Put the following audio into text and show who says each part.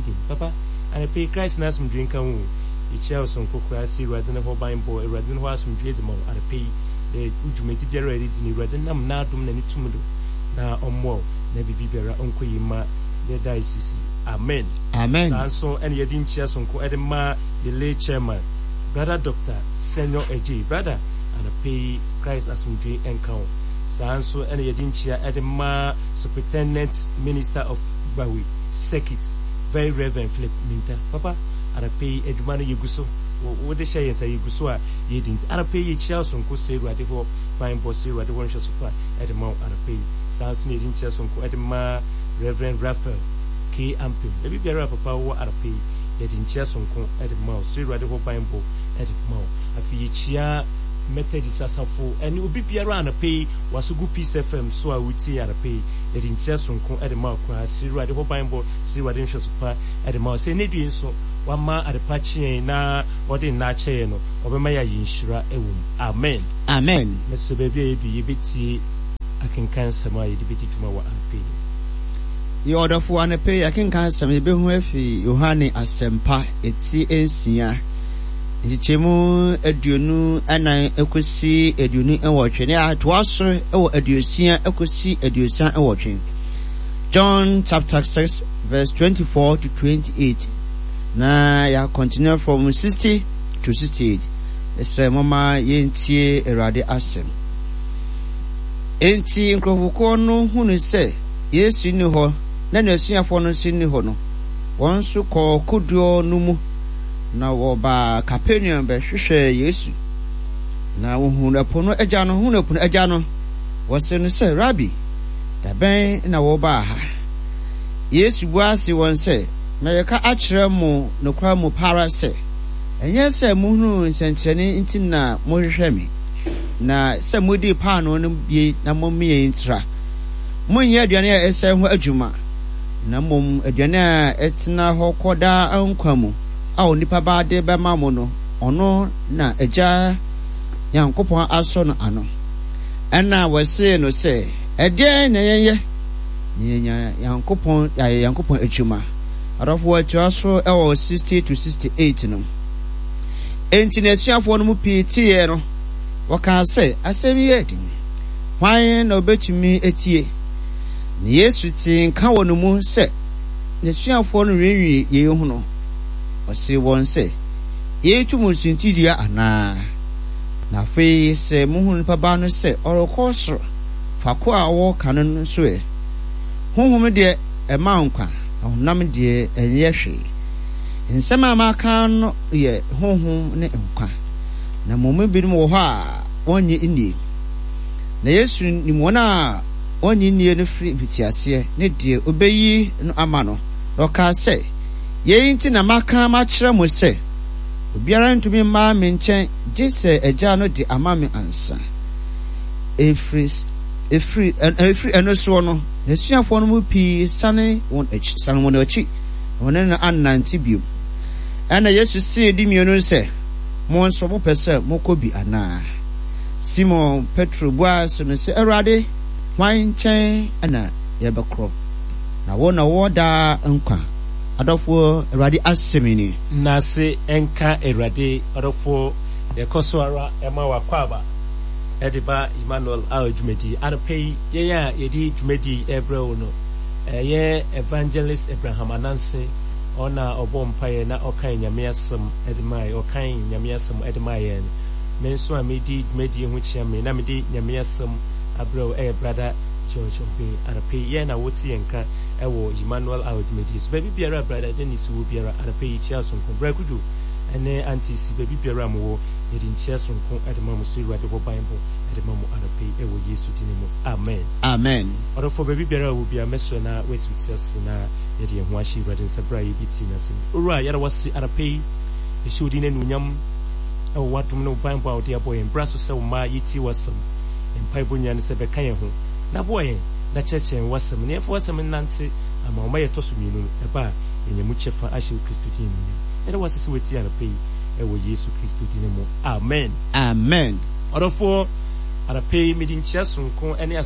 Speaker 1: Gideon. Papa, anapa yi Christ n'asomdwee nka wo o. Yekyia wo soronko koraa sɛ Ewuradze no hɔ banbɔ, Ewuradze no hɔ asomdwee dze ma wo anapa yi dɛ wo dwumadzi biara a eridzi no Ewuradze nam n'adom na ne tum do na ɔmboa wo na biribi biara ɔnkɔ yie mma yɛ diocese yi. Amen.
Speaker 2: Amen.
Speaker 1: Saa nso na yɛde nkyia soronko de ma yɛ lay chairman, Brother Doctor Senyo Adjei. Brother, anapa yi Christ asomdwee nka wo. Saa nso na yɛde nkyia de ma Superintendent Minister of Gbawe Circuit, Very Reverend Philip Minta. Papa, anapa yi adwuma no yɛgu so. Wode hyɛ yɛn nsa yɛgu so a yɛredi nti anapa yi yɛkyia wo soronko srɛ Awurade hɔ banbɔ, srɛ Awurade hɔ nhwɛso pa de ma wo anapa yi. Saa nso na yɛde nkyia soronko de ma Reverend Raphael K. Ampem. Baabi biara a papa wowɔ anapa yi, yɛde nkyia soronko de ma wo. Srɛ Awurade hɔ banbɔ de ma wo. Afei yɛkyia Methodist asafo ne obi biara anapa yi waso gu Peace FM so a wotie anapa yi. Yɛde nkyia soronko de ma wo koraa. Srɛ Awurade hɔ banbɔ, srɛ Awurade nhwɛso pa de ma wo. Sɛ ɛnnɛ due nso wama adepa kye yɛn na ɔde nna akyɛ yɛn no, ɔbɛma yɛayɛ nhyira wɔ mu. Amen.
Speaker 2: Amen.
Speaker 1: Mesrɛ baabi a yɛdu yi, yɛbɛtie akenkan nsɛm a yɛde bɛdi dwuma wɔ anɔpa yi.
Speaker 2: Yɛ ɔdɔfo, anɔpa yi akenkan nsɛm yɛbɛhu afi Yohane Asɛmpa eti nsia, nkyekyɛmu 24 kɔsi 28, na yɛatoa so wɔ 60 kɔsi 68. John chapter 6 verse 24 to 28. Na yɛ continue from 60 to 68. Ɛsɛ moma yɛntie Awurade asɛm. Enti nkurɔfokuo no hunu sɛ Yesu nni hɔ na n'asuafoɔ no nso nni hɔ no, wɔn nso kɔɔ kodoɔ no mu, na wɔbaa Kapernaum bɛhwehwɛɛ Yesu. Na wɔhunuu ɛpo no agya no, hunuu ɛpo no agya no, wɔsee no sɛ, Rabi, da bɛn na wobaa ha? Yesu bua see wɔn sɛ, Mereka akyerɛ mo nokware mu pa ara sɛ, ɛnyɛ sɛ mohunuu nsɛnkyerɛnne nti na mohwehwɛ me, na sɛ modii paanoo no bi na momee ntra. Monnyɛ aduane a ɛsɛe ho adwuma, na mmom aduane a ɛtena hɔ kɔ daa nkwa mu a onipa Ba de bɛma mo no, ɔno na Agya Nyankopɔn asɔ no ano. Ɛnna wɔsee no sɛ, Ɛdeɛn na yɛnyɛ na yɛanya Nyankopɔn, yɛayɛ Nyankopɔn adwuma? Adɔfo, wɔtoa so wɔ 60 to 68 no. Enti n'asuafoɔ no mu pii teeɛ no, wɔkaa sɛ, Asɛm yi yɛ den. Hwan na ɔbɛtumi atie? Na Yesu tee nka wɔ ne mu sɛ n'asuafoɔ no renwiinwii yei ho no, ɔsee wɔn sɛ, Yei to mo suntidua anaa? Na afei sɛ mohunu Nipa Ba no sɛ ɔrekɔ soro faako a ɔwɔ kane no nso ɛ? Honhom deɛ ɛma nkwa, na honam deɛ ɛnyɛ hwee. Nsɛm a maka no yɛ honhom ne nkwa. Na mo mu binom wɔ hɔ a wɔnnye nnie. Na Yesu nim wɔn a wɔnnye nnie no firi mfitiaseɛ ne deɛ ɔbɛyi no ama no, na ɔkaa sɛ, Yei nti na maka makyerɛ mo sɛ, obiara ntumi mma me nkyɛn gye sɛ Agya no de ama me ansa. Ɛfiri, ɛfiri, ɛfiri ɛno soɔ no, n'asuafoɔ no mu pii sane wɔn akyi, sane wɔn akyi, na wɔne no annante bio. Ɛnna Yesu see dumienu no sɛ, Mo nso mopɛ sɛ mokɔ bi anaa? Simon Petro buaa se no sɛ, Awurade, hwan nkyɛn na yɛbɛkorɔ? Na wo na wowɔ daa nkwa. Adɔfoɔ, Awurade asɛm nie.
Speaker 1: Nnase nka Awurade. Ɔdɔfoɔ, yɛkɔ so ara ma wo akwaaba de ba Emmanuel Hour dwumadie. Anɔpa yi, yɛn a yɛde dwumadie yi rebrɛ wo no, ɛyɛ Evangelist Abraham Ananse. Ɔna ɔbɔɔ mpaeɛ na ɔkae Nyame asɛm de mae, ɔkan Nyame asɛm de maa yɛn no. Me nso a medi dwumadie ho kyea me na mede Nyame asɛm abrɛ wo ɛyɛ Brada George Obeng. Anɔpa yi, yɛn na wote yɛn nka ɛwɔ Emmanuel Hour dwumadie so. Baabi biara a Brada Dennis wɔ biara, anɔpa yi kyea sononko. Bra Kudwo ɛne Auntie Si, baabi biara a mowɔ, yɛde nkyea sononko de ma mo sɛ Awurade hɔ banbɔ de ma mo anɔpa yi ɛwɔ Yesu din mu. Amen.
Speaker 2: Amen.
Speaker 1: Ɔdɔfoɔ, baabi biara a wɔ biara, mɛsrɛ na woasi wo ti ase na Yɛde yɛn ho ahyɛ Awurade nsa berɛ a yɛrebɛtie N'asɛm yi. Owura, yɛda wo ase anɔpa yi. Yɛhyɛ wo din anuonyam wɔ w'adom ne wo banbɔ a wode abɔ yɛn. Bra so sɛ wo mma yɛtie w'asɛm. Yɛn mpaebɔ nyinaa ne sɛ bɛka yɛn ho na boa yɛn na kyerɛkyerɛ yɛn w'asɛm na yɛmfa w'asɛm nnante ama wo ma yɛtɔ so mmienu no ɛba a yɛanya mu kyɛfa ahyɛ wo Kristo din anuonyam. Yɛda wo ase sɛ woatie anɔpa yi wɔ Yesu Kristo din mu. Amen.
Speaker 2: Amen.
Speaker 1: Ɔdɔfoɔ, anɔpa yi mede nkyia sononko ne.